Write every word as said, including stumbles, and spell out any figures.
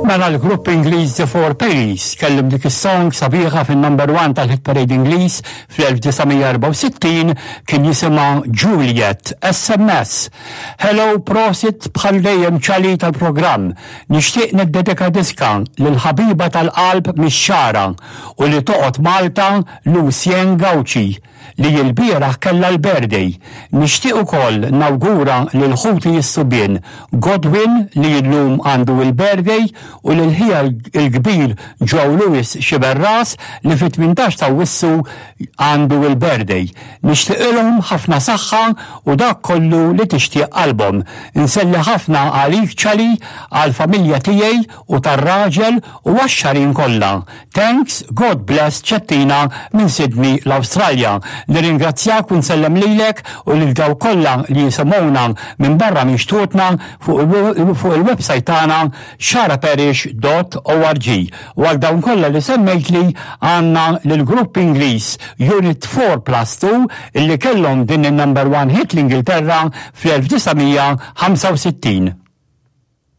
Mela l-grupp Ingliż The Four Pennies kellhom dik is-song sabiħa fin-number one tal-hit parade Ingliż fl-elf disa' mija erbgħa u sittin, kien jisimha Juliet. S M S. Hello, prosit bħal dejjem, Ċali, tal-programm. Nixtieq niddedika diska lil ħabiba tal-qalb mix-Xagħra u li toqgħod Malta, Lucien Gauci, li l-bieraħ kella l-birthday. Nixtieq ukoll nawgura lil ħuti s-subien Godwin, li llum għandu il-birthday, u lil ħija il-kbir Joe Lewis Xiberras, li fit-tmintax ta' Awwissu għandu il-birthday. Nixtieqilhom ħafna saħħa u dak kollu li tixtieq qalbhom. Insellem ħafna għalik, Ċali, għal-familja tiegħi u tar-raġel u għax-Xagħrin kollha. Thanks, God bless, Ċettina minn Sydney, l-Awstralja. Nirringrazzjak u nsellem lilek u lil dawk kollha li jisimgħuna minn barra minn xtutna fuq il-website tagħna xagħraparish punt org. U għal dawn kollha li semmejt li għandna lill-grupp Ingliż Unit four plus two, illi kellhom din il-number one hit l-Ingilterra fl-elf disa' mija ħamsa u sittin.